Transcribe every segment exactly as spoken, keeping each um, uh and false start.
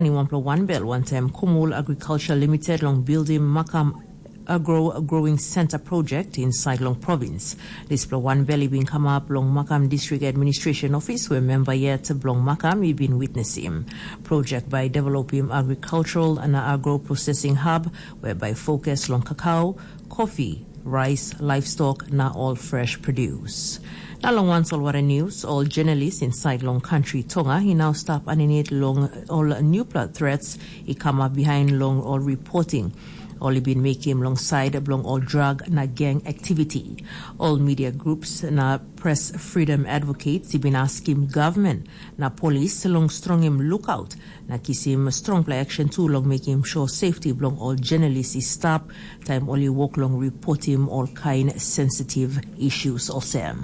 Ni wanpela wanbel wantaim Kumul Agriculture Limited long bildim Makam Agro Growing Center project inside long province. Dispela wanbel i bin kamap long Makam District Administration Office, where member yet bilong Makam i bin witnessim. Project by developing agricultural na agro processing hub, whereby focus long cacao, coffee, rice, livestock na all fresh produce. Na long wan solwara news, all journalists inside long country Tonga i now stap aninit long all newpela threats i come up behind long all reporting. All i bin making long side bilong all drug na gang activity. All media groups na press freedom advocates i bin askim government na police long strongim lookout na kisim strongpela action tu long making sure safety bilong all journalists i stap taim ol i wok long reportim ol kain sensitive issues olsem.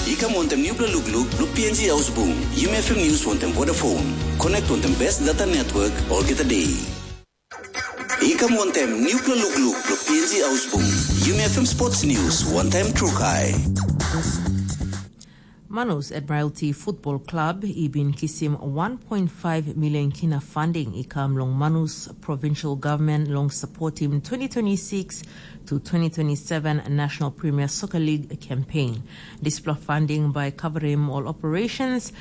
I kam wantaim nupela lukluk bilong P N G Haus Bung, Yumi F M News wantaim Vodafone. Connect wantaim best data network olgeta day. I kam wantaim nupela lukluk bilong P N G Haus Bung, Yumi F M Sports News wantaim Trukai. Manus Admiralty Football Club i bin kisim one point five million kina funding i kam long Manus Provincial Government long supportim twenty twenty-six to twenty twenty-seven National Premier Soccer League campaign. Dispela funding by covering all operations,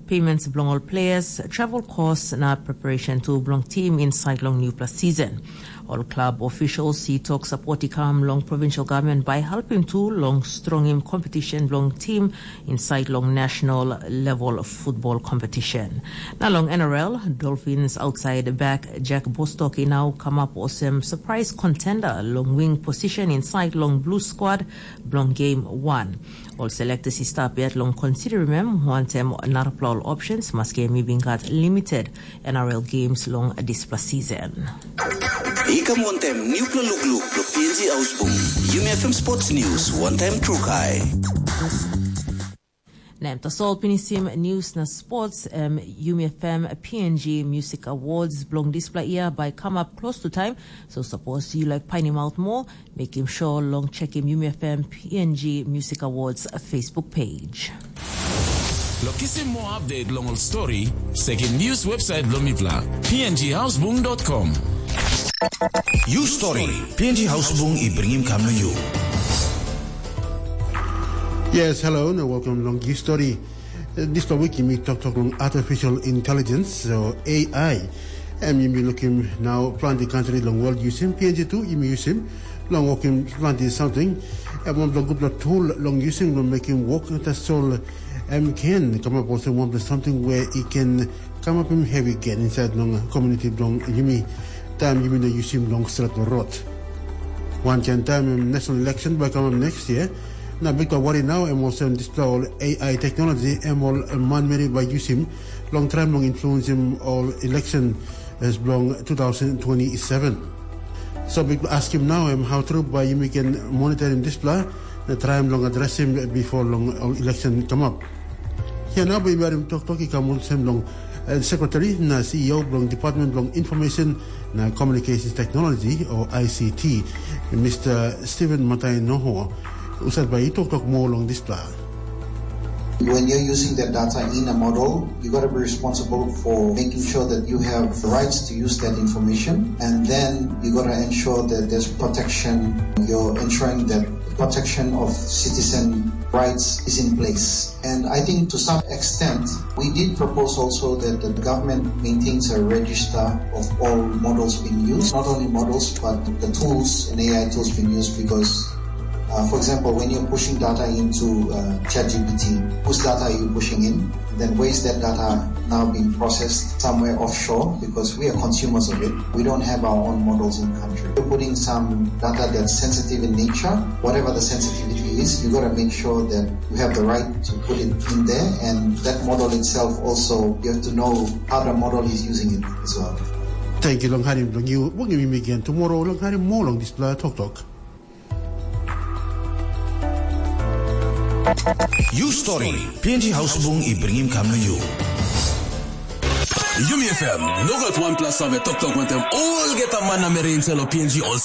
payments bilong all players, travel costs na preparation tu bilong team inside long newpela season. All club officials i tok support i kam long provincial government by helping tu long strongim competition bilong team inside long national level football competition. Na long N R L, Dolphins outside back Jack Bostock i now come up olsem surprise contender long wing position inside long blue squad bilong game one. Ol selectors i stap yet long considering em wantaim narapela ol options, maski em i bin gat limited N R L games long dispela season. I kam wantaim nupela lukluk bilong P N G Haus Bung, Yumi F M Sports News wantaim Trukai. Na em tasol pinisim news na sports, em Yumi F M P N G Music Awards bilong dispela year by come up close to time. So suppose you like finding out more, make him sure long check him Yumi F M P N G Music Awards Facebook page. Lo kisim more update long ol story, check him news website bilong mipela, P N G housebung dot com. You story, P N G housebung i bringim kam na you. Yes, hello, na welcome long you story. Dispela wik yumi toktok long artificial intelligence, so A I. Em yumi lukim nau planti kantri long world yusim, P N G tu yumi yusim long wokim planti samting. Em wanpela gutpela tool long yusim long mekim wok tasol em ken kamap olsem wanpela samting we i ken kamapim hevi gen insait long komuniti bilong yumi taim yumi no yusim long stretpela rot. Wankain taim em national election bai kamap next year, na bikpela wari nau em olsem dispela ol A I teknologi em ol manmeri bai yusim long traim long influensim ol election as bilong two thousand twenty-seven. So bikpela askim nau em hau tru bai yumi ken monitorim dispela na traim long adresim bipo long ol election kamap. Ia nau bai yumi harim toktok i kam olsem long sekretari na C E O bilong Department bilong Information na Communications Technology o I C T, Mr. Stephen Matai Noho, husat bai i toktok moa long dispela. When you're using that data in a model, you got to be responsible for making sure that you have rights to use that information, and then you got to ensure that there's protection. You're ensuring that protection of citizen rights is in place. And I think to some extent, we did propose also that the government maintains a register of all models being used, not only models, but the tools and A I tools being used because, uh, for example, when you're pushing data into uh, ChatGPT, whose data are you pushing in? Then where is that data now being processed somewhere offshore? Because we are consumers of it. We don't have our own models in country. You're putting some data that's sensitive in nature, whatever the sensitivity is, you got to make sure that you have the right to put it in there, and that model itself also, you have to know how the model is using it as well. Thank you long harim bilong you. Bungim mi again tomorrow long harim more long this toktok. You story, P N G Housebung i bringim kam na you. Yumi F M, nogat wanpela save toktok wantem olgeta man na meri inselo P N G ol